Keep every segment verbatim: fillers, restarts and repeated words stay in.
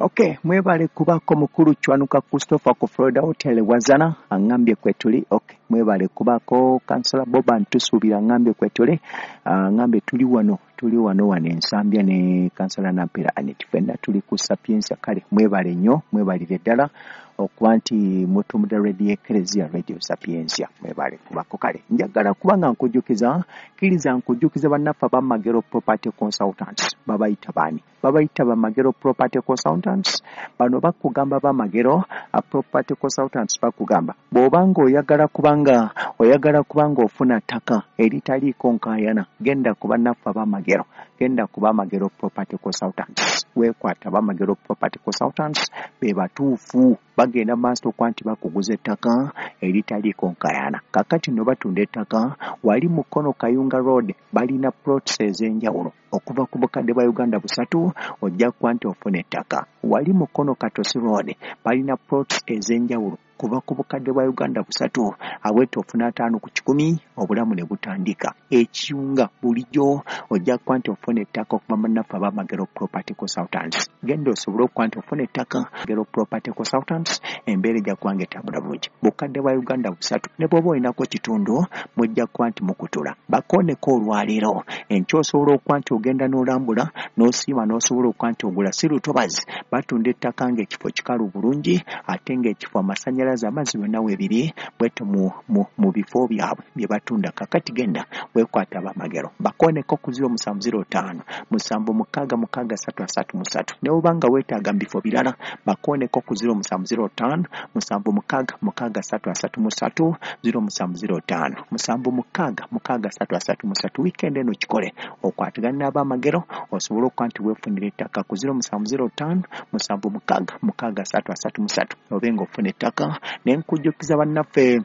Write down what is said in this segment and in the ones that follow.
Okay, mwebale kubako mukulu Chwanuka Christopher ku Florida Hotel Wazana angambye kwetuli. Okay, mwebale kubako Kansala Boba ntusuubira angambye kwetuli, angambye tuli wano tuli wano wano Ensambya ne Kansala Nampera Annet fenna tuli ku Sapientia. Kale mwebale nnyo, mwebalire ddala okuba nti mutumudde Radio Ecclesia, Radio Sapientia, mwebale kubako. Kale njagala kubanga nkujjukiza, kkiriza nkujjukiza bannaffe ab'Amagero Property Consultants. Babayita baani? Babayita Bamagero Property Consultants. Bano bakugamba Bamagero Property Consultants, bakugamba bw'obanga oyagala kubanga oyagala kubanga ofuna ttaka eritaliiko nkaayana, genda ku bannaffe ab'Amagero, genda ku Bamagero Property Consultants. Weekwata Bamagero Property Consultants, be batuufu, bagenda maaso okuba nti bakuguza ettaka eritaliiko nkaayana. Kaakati nno batunda ettaka wali Mukono Kayunga Road, balina plots ez'enjawulo okuva ku bukadde bwa Uganda busatu ojja kuba nti ofuna ettaka. Wali Mukono Katosi Road balina plots ez'enjawulo kuva ku bukadde bwa Uganda busatu, aweta ofuna ataano ku kikumi, obulamu ne butandika. Ekiyunga bulijjo ojja kuba nti ofuna ettaka okuva bannaffe ab'Amagero Property Consultants. Genda osobole okuba nti ofuna ettaka Magero Property Consultants, embeera ejja kuba nga etambula bulungi. Bukadde bwa Uganda busatu, ne bw'oba olinako kitundu mujja kuba nti mukutula. Bakooneko olwaleero enkya osobola okuba nti ogenda n'olambula n'osiima n'osobola okuba nti ogula. Si lutobazi, batunda ettaka ng'ekifo kikalu bulungi ate ng'ekifo amasannyalaze amazzi byonna weebiri bwetyo mu, mu, mu bifo byabwe bye batunda. Kakati genda weekwata Abamagero, bakooneko ku ziro musanvu ziro ttaano musanvu mukaaga mukaaga ssatu asatu mu ssatu. Ne bw'oba nga weetaaga mu bifo birala, bakooneko ku ziro musanvu ziro ttaano musanvu mukaaga mukaaga ssatu asatu mu ssatu, ziro musanvu ziro ttaano musanvu mukaaga mukaaga ssatu asatu mu ssatu. Wiikendi eno kikole okwatagane n'Abamagero osobole okuba nti weefunira ettaka ku ziro musanvu ziro ttaano musanvu mukaaga mukaaga ssatu asatu mu ssatu, obe ng'ofuna ettaka. Ne nkujjukiza bannaffe,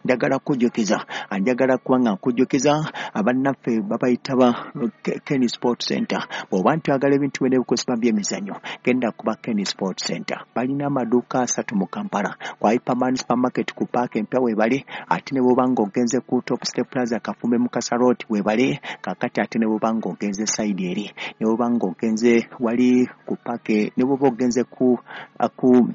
njagala kujjukiza, njagala kuba nga nkujjukiza abannaffe babayita ba Kenny Sport Center. Bw'oba nti oyagala ebintu byonna ebikozesebwa by'emizannyo, genda kuba Kenny Sport Center. Balina amaduuka asatu mu Kampala, ku Hyperman Supermarket ku paaka empya weebali, ate ne bw'oba ng'ogenze ku Top Step Plaza Kafumbe Mukasa Road weebali. Kaakati ate ne bw'oba ng'ogenze side eri, ne bw'oba ng'ogenze wali ku paaka, ne bw'oba ogenze ku ku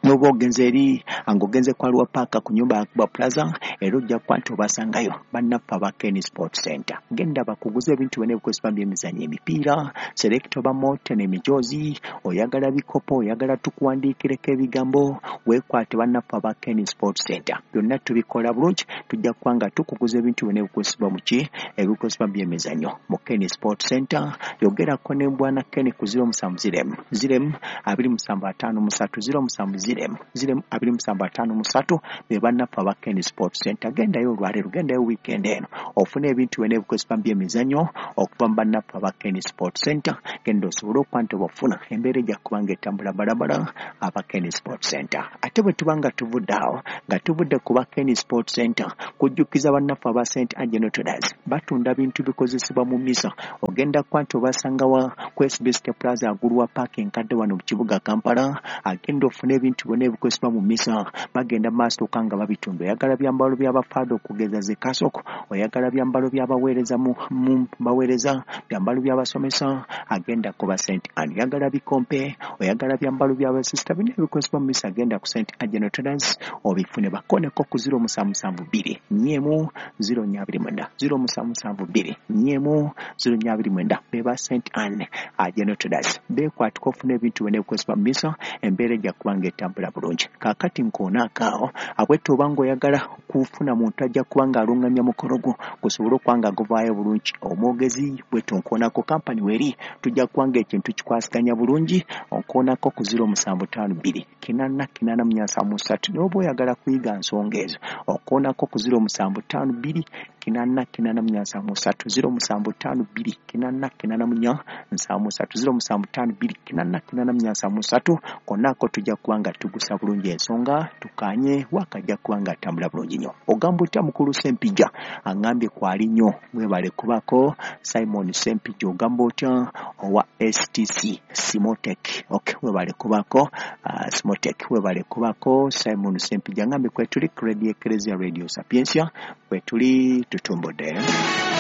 n'oba ogenze eri ng'ogenze ku Arua Park ku nyumba ya Kuba Plaza, era ojja kuba nti obasangayo bannaffe aba Kenny Sport Center. Genda bakuguze ebintu byonna ebikozesebwa by'emizannyo, emipiira, select oba Molten, emijoozi, oyagala bikopo, oyagala tukuwandiikireko ebigambo, weekwate bannaffe aba Kenny Sport Center. Byonna tubikola bulungi, tujja kuba nga tukuguza ebintu byonna ebikozesebwa mu ki ebikozesebwa by'emizannyo mu Kenny Sport Center. Yogerako ne Bwana Kenny ku ziro musanvu ziro emu ziro emu abiri musanvu ataano mu ssatu, ziro musanvu ziro emu ziro emu abiri musanvu ataano mu ssatu, be bannaffe aba Kenny Sport Center. Gendayo olwaleero, gendayo weekend eno ofune ebintu byonna ebikozesebwa by'emizannyo okuva mu bannaffe aba Kenny Sport Center. Genda osobole okuba nti obafuna, embeera ejja kuba nga etambula balabala aba Kenny Sport Center. Ate bwe tuba nga tuvudde awo, nga tuvudde ku ba Kenny Sport Center, kujjukiza bannaffe aba Saint Angelo Traders, batunda bintu bikozesebwa mu misa. Ogenda kuba nti obasanga wa ku S B City Plaza waggulu wa paaka enkadde wano mu kibuga Kampala. Agenda ofune ebintu byonna ebikozesebwa mu misa, bagenda maaso okuba nga babitunda. Oyagala byambalo by'abafaada okugeza ze kasoko, oyagala byambalo by'abaweereza mu, mu baweereza, byambalo by'abasomesa, agenda ku ba Saint Anne. Oyagala bikompe, oyagala byambalo by'abasisita, byonna ebikozesebwa mu misa, agenda ku Saint Angelo Traders obifune. Bakoneko ku ziro musanvu musanvu bbiri nnya emu ziro nnya abiri mwenda, ziro musanvu musanvu bbiri nnya emu ziro nnya abiri mwenda, be ba Saint Anne General Traders. Beekwatiko ofune ebintu byonna ebikozesebwa mu misa, embeera ejja kuba nga etambula bulungi. Kaakati nkoonaako awo, abwette oba ng'oyagala kufuna muntu ajja kuba ng'alungamya mukolo gwo gusobole okuba nga guvaayo bulungi, omwogezi bwetyo nkoonako kampani weeri, tujja kuba ng'ekintu kikwasiganya bulungi. Onkoonako ku ziro musanvu ttaano bbiri kinaana kinaana mu nnya nsanvu mu ssatu. Naye oba oyagala kuyiga nsonga ezo, onkoonako ku ziro musanvu ttaano bbiri kinaana kinaana mu nnya nsanvu mu ssatu, ziro musanvu ttaano bbiri kinaana kinaana mu nnya nsanvu mu ssatu, ziro musanvu ttaano bbiri kinaana kinaana mu nnya nsanvu mu ssatu. Konnaako tujja kuba nga tugusa bulungi ensonga, tukanye wakajja kuba nga atambula bulungi nnyo. Ogamba otya mukulu Ssempijja? Aŋŋambye kwali nnyo, mwebale kubako Simon Ssempijja. Ogamba otya owa S T C Simotek? Okay, webale kubako uh, Simotek, webale kubako Simon Ssempijja. Aŋŋambye kwetuli Radio Ecclesia, Radio Sapientia, kwetuli tutumbudde.